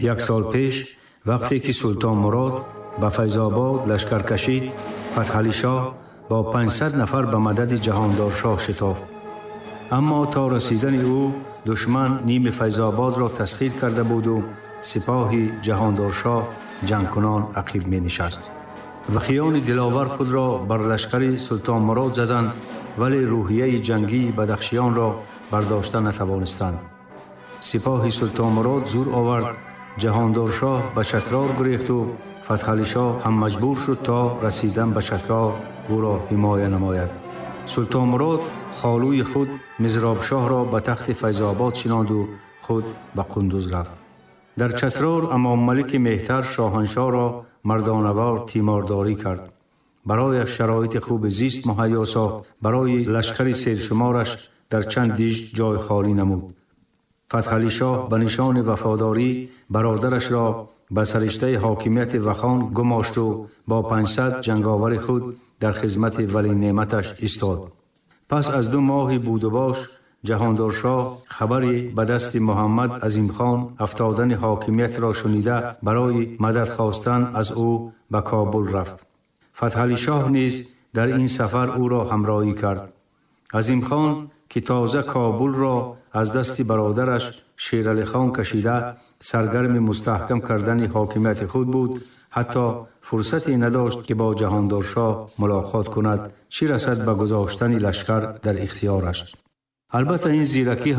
Як сол пеш, вақте ки Султон Мурод ба Файзобод лашкар кашид, Фатҳалишоҳ бо 500 нафар ба мадади Ҷаҳондоршоҳ шитофт. Аммо то расидани ӯ душман ними Файзободро тасхир карда буду сипоҳи Ҷаҳондоршоҳ ҷангкунон ақиб менишаст. Вахиёни диловар худро бар лашкари Султон Мурод заданд, вале рӯҳияи ҷангии бадахшиёнро бардошта натавонистанд. Сипоҳи Султон Мурод зур овард, Ҷаҳондоршоҳ ба Чатрор гурехту Фатҳалишоҳ ҳам маҷбур шуд то расидан ба Чатрор ӯро ҳимоя намояд. Султон Мурод холуи худ Мизробшоҳро ба тахти Файзобод шинонду худ ба Қундуз рафт. Дар Чатрор Амоммалики Меҳтар шоҳаншоҳро мардонавор тимордорӣ кард. Барояш шароити хуби зист муҳайё сохт, барои лашкари сершумораш дар чанд диж ҷой холӣ намуд. Фатҳалишоҳ ба нишони вафодорӣ бародарашро ба сариштаи ҳокимияти Вахон гумошту бо 500 ҷанговари худ дар хизмати валинеъматаш истод. Пас аз 2 моҳи будубош Ҷаҳондоршоҳ хабари ба дасти Муҳаммад Азимхон афтодани ҳокимиятро шунида барои мадад хостан аз ӯ ба Кобул рафт. Фатҳалишоҳ низ дар ин сафар ӯро ҳамроҳӣ кард. Азимхон ки тоза Кобулро аз дасти бародараш Шералихон кашида саргарми мустаҳкам кардани ҳокимияти худ буд, ҳатто фурсате надошт ки бо Ҷаҳондоршоҳ мулоқот кунад, чӣ расад ба гузоштани лашкар дар ихтиёраш. Албатта ин зиракӣ